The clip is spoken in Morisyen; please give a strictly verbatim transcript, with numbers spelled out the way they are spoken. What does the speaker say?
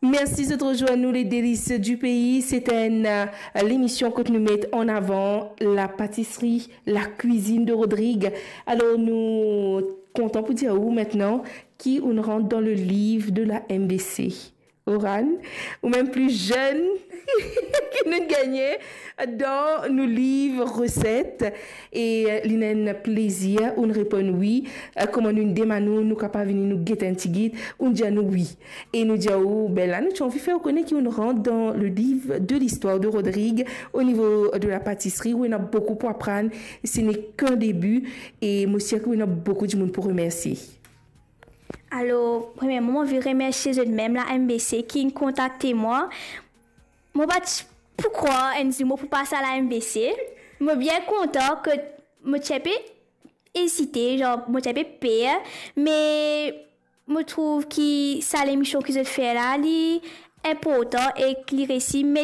Mersi zot rezwenn nou, Les Délices du Pays. Se enn, euh, lemision kot nou met an avan la patisri, la kwizinn de Rodrig. Alor, nou kontan pou dir ou mintnan ki ou'nn rant dan le liv de la M B C. Oran, ou mem pli zenn ki nou gagne dan nou liv reset. E, euh, li enn plezir, ou'nn reponn wi. Euh, kouma nou demann ou, nou kapav vini nou get enn tigit, ou'nn dir nou wi. E nou dir ou, be la, nou ti anvi fer ou kone ki ou'nn rant dan le liv de listwar de Rodrig o nivo de la patisri, ou ena boukou pou aprann, ce n'est qu'un début, e mo sir ki ou ena boukou dimoun pou remersie. Alor, premierman, mo anvi remersie zot mem, la M B C, ki'nn kontakte mwa. Mo pa ti pou krwar enn zour mo pou pas a la M B C. Mo bien kontan ki mo ti pe ezite, zan, mo ti pe per, me mo trouv ki sa lemision ki zot fer la, li inportan ek li resi met